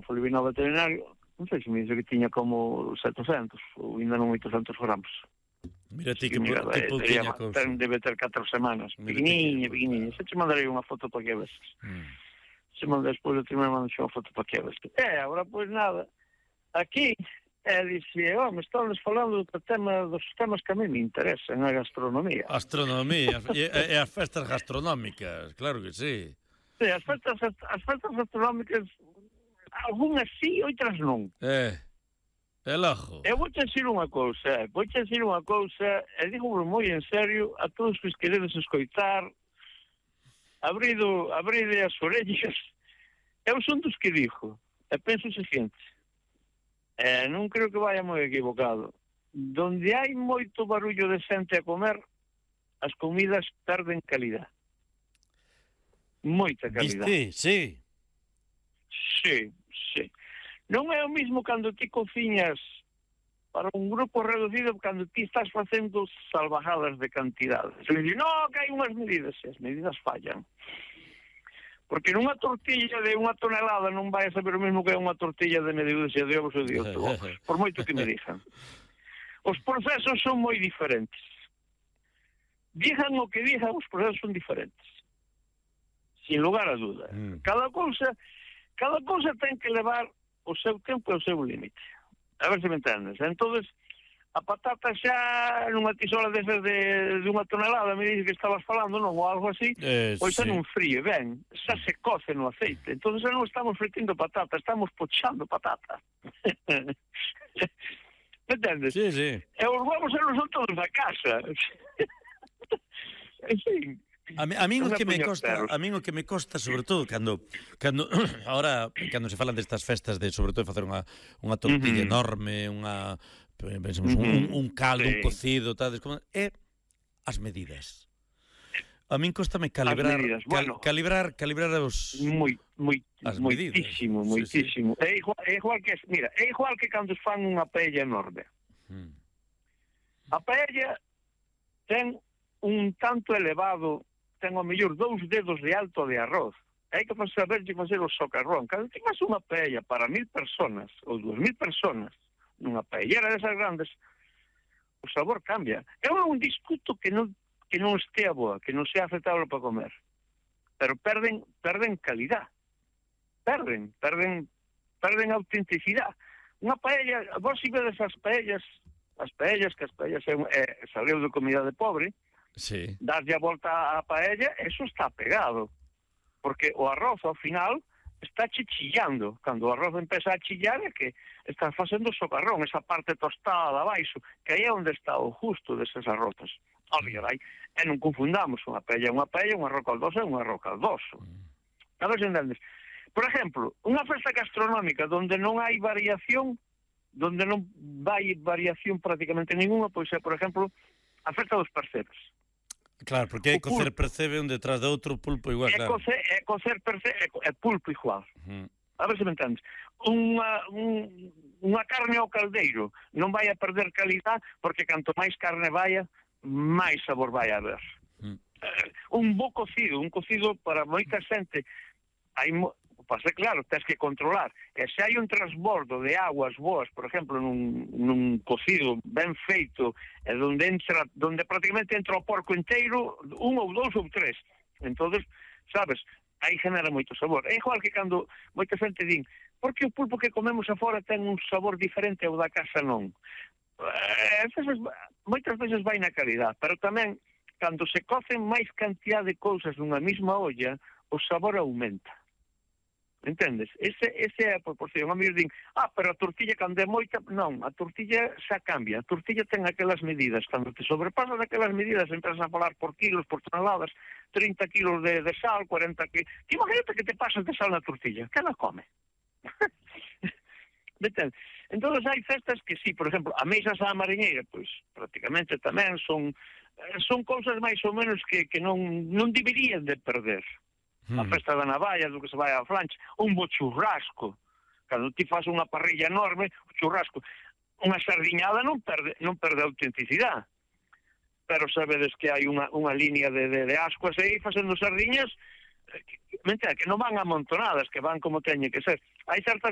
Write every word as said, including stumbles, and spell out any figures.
cando foi ao veterinario, non sei se me dice que tiña como setecentos ou ainda non oitocentos gramos. Mira ti, Sí, que, mira, que pouquiña cousa. Ten, debe ter catro semanas. Pequeniña, pequeniña. Se te mandarei unha foto para que ves. Mm. Se mandas despois de terminar, mandas unha foto para que ves. E, agora, pois nada, aquí, e dixe, oh, me están falando do tema, dos temas que a mí me interesan, a gastronomía. Astronomía, e, e as festas gastronómicas, claro que sí. Sí, as festas, as festas gastronómicas, algunhas sí, outras non. Eh... El ojo. Eu vou te decir unha cousa, vou te decir unha cousa, e digo moi en serio a todos os que queredes escoitar, abrido, abride as orellas. Eu son dos que dixo, e penso o seguinte, e non creo que vaya moi equivocado, donde hai moito barullo de xente a comer, as comidas perden calidad. Moita calidad. Viste? Sí. Sí, sí. Non é o mismo cando ti cociñas para un grupo reducido cando ti estás facendo salvajadas de cantidades. E me di, no, que hai unhas medidas, e as medidas fallan. Porque nunha tortilla de unha tonelada non vai a saber o mesmo que unha tortilla de medio dúcia de ovos ou de oito ovos, por moito que me dixan. Os procesos son moi diferentes. Dixan o que dixan, os procesos son diferentes. Sin lugar a duda. Mm. Cada cousa, cada cousa ten que levar o seu tempo e o seu límite. A ver se me entendes. Entonces, a patata xa nunha tisola desas de, de unha tonelada, me dice que estabas falando, non, ou algo así, eh, pois sí. xa non fríe, ben, xa se coce no aceite. Entonces xa non estamos fritindo patata, estamos pochando patata. Me entendes? Sí, sí. E os huevos eran son todos da casa. En fin... A mí, a mí o que me costa, a mí o que me costa sobre todo cando cando ahora cando se falan destas festas de sobre todo facer unha unha tortilla uh -huh. enorme, unha pensamos uh -huh. un, un caldo, sí. un cocido, tal, como é as medidas. A min costame calibrar medidas, bueno, cal, calibrar calibrar os moi moi moitísimo, moitísimo. Sí, sí. É igual, é igual que, mira, é igual que cando fan unha paella enorme. Hmm. A paella ten un tanto elevado, ten ao mellor dous dedos de alto de arroz. Hai que saber de facer o socarrón. Cando ti faz unha paella para mil personas ou dúas mil personas nunha paellera desas grandes, o sabor cambia. Eu non discuto que non que non estea boa, que non sea aceptable para comer. Pero perden perden calidad. Perden, perden perden autenticidade. Unha paella, vos si vedes as paellas, as paellas, que as paellas é, é saleu de comida de pobre, sí. Darlle a volta á paella, eso está pegado. Porque o arroz, ao final, está chichillando. Cando o arroz empeza a chillar é que está facendo socarrón, esa parte tostada de abaixo, que aí é onde está o justo deses arrozes. Obvio, vai. E non confundamos unha paella, unha paella, un arroz caldoso é un arroz caldoso. A ver se entendes. Por exemplo, unha festa gastronómica donde non hai variación, donde non vai variación prácticamente ninguna, pois é, por exemplo, a festa dos percebes. Claro, porque é cocer percebe un detrás de outro, pulpo igual, claro. É cocer, é cocer percebe, é pulpo igual. Uh -huh. A ver se me entendes. Unha, un, unha carne ao caldeiro non vai a perder calidad porque canto máis carne vaya, máis sabor vai a haber. Uh -huh. uh, un bo cocido, un cocido para moita xente, hai mo... Pasa, claro, tens que controlar. E se hai un transbordo de aguas boas, por exemplo, nun, nun cocido ben feito, e donde entra, donde prácticamente entra o porco inteiro, un ou dous ou tres. Entonces, sabes, aí genera moito sabor. É igual que cando moita xente din, porque o pulpo que comemos afora ten un sabor diferente ao da casa non. Eh, veces, moitas veces vai na calidad, pero tamén, cando se cocen máis cantidad de cousas nunha mesma olla, o sabor aumenta. Entendes? Ese, ese é a proporción. A mí din, ah, pero a tortilla cando é moita... Non, a tortilla xa cambia. A tortilla ten aquelas medidas. Cando te sobrepasas aquelas medidas, entras a falar por kilos, por toneladas, trinta kilos de, de sal, cuarenta kilos... Imagínate que te pasas de sal na tortilla. Que la come? Entendes? Entón, hai festas que sí, por exemplo, a meisas á mariñeira, pois, prácticamente tamén son son cousas máis ou menos que, que non, non deberían de perder. A festa da navalla, do que se vai á flancha, un bo churrasco. Cando ti faz unha parrilla enorme, o churrasco, unha sardiñada non perde non perde autenticidade. Pero sabedes que hai unha, unha línea de, de, de ascuas aí facendo sardiñas que, mentira, que non van amontonadas, que van como teñe que ser. Hai certas